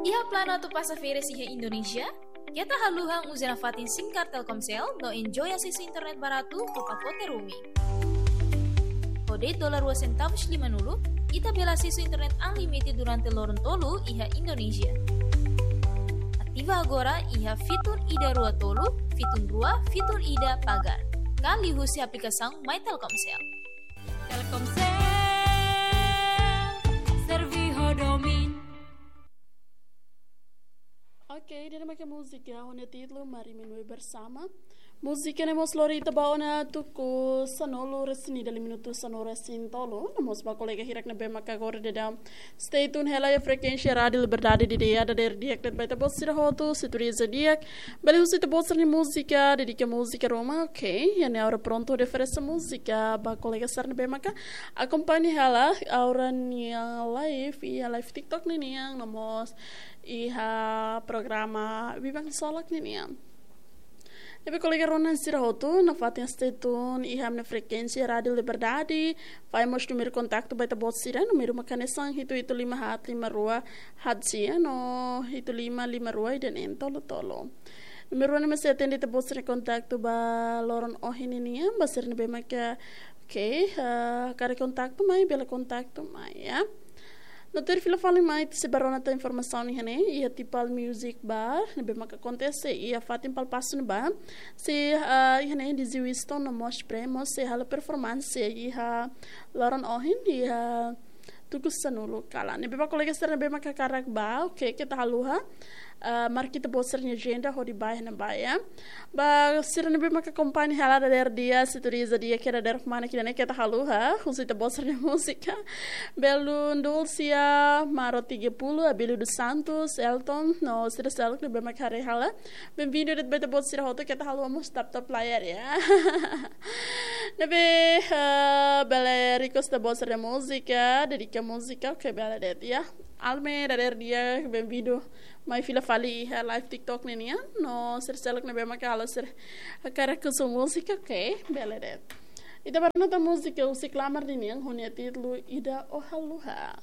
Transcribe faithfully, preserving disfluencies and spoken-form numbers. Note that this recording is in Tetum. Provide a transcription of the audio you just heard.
Iha planu atu pasa férias iha Indonézia? Keta haluha uza nafatin SIM card Telkomsel no enjoy asesu internet baratu ho pakote roaming. Ho de'it dolar rua sentavus limanulu, ita bele asesu internet unlimited durante loron tolu iha Indonézia. Ativa agora iha fitun ida rua tolu, fitun rua, fitun ida pagar. Ka liuhusi aplikasaun My Telkomsel. Telkomsel, servi ho domin. Oke, ida-ne'e mak múzika ho nia títulu Mari Menue Bersama. Múzika ne'e mós lori ita ba ona tuku sanulu resin ida, lima minutu sanulu resin tolu. No mós ba kolega hirak ne'ebé maka agora daudaun stay tune hela iha frekuénsia Rádiu Liberdade, ida-ne'e dadeer di'ak de'it ba ita-boot sira hotu, sintoniza di'ak. Bele husu ita-boot sira-nia múzika, dedika múzika ruma, oke. Iha ne'e ha'u prontu oferese múzika ba kolega sira ne'ebé maka akompaña hela ha'u-nia live, iha live TikTok ninian, no mós iha programa Biban Solak ninian. Ne'ebé kolega rona sira hotu, nafatin stay tune iha ami-nia frekuénsia Rádiu Liberdade, fahe mós númeru kontaktu ba ita-boot sira, númeru mak hanesan hitu hitu lima haat lima rua haat sia, no hitu lima lima rua ida neen tolu tolu. Númeru ne'e mós sei atende ita-boot sira-nia kontaktu ba loron ohin ninian, ba sira ne'ebé maka, oke, ah, hakarak kontaktu mai, bele kontaktu mai, ya. No tuir fila fali mai, ita sei bá rona tan informasaun iha ne'e, iha Tipal Music Bar, ne'ebé maka akontese iha fatin Palpasu ne'ebá. Sei, ah, iha ne'e DJ Winston no mós Premo sei halo performance iha loron ohin, iha tuku sanulu kalan. Ne'ebé ba kolega sira ne'ebé maka hakarak bá, oke, keta haluha. Ah, marka ita-boot sira-nia ajenda hodi bá iha ne'ebá, ya. Ba sira ne'ebé maka akompaña hela dadeer di'ak, sintoniza di'ak, kira dadeer mana kira ne'e, keta haluha husu ita-boot sira-nia múzika. Belun Dulcia, Maro tiga puluh, Abílio dos Santos, Elton, no sira seluk ne'ebé maka haree hela. Bem-vindu de'it ba ita-boot sira hotu, keta haluha mós tap-tap layar, ya. Ne'ebé, eh, bele request ita-boot sira-nia múzika, dedika múzika, oke, bele de'it, ya. Alme, dadeer di'ak, bem-vindu mai fila fali iha live TikTok ninian, no sira seluk ne'ebé maka halo sira hakarak husu múzika, oke, bele de'it. Ita bá rona tan múzika husi Klamar ninian, ho nia títulu Ida Ó Haluha.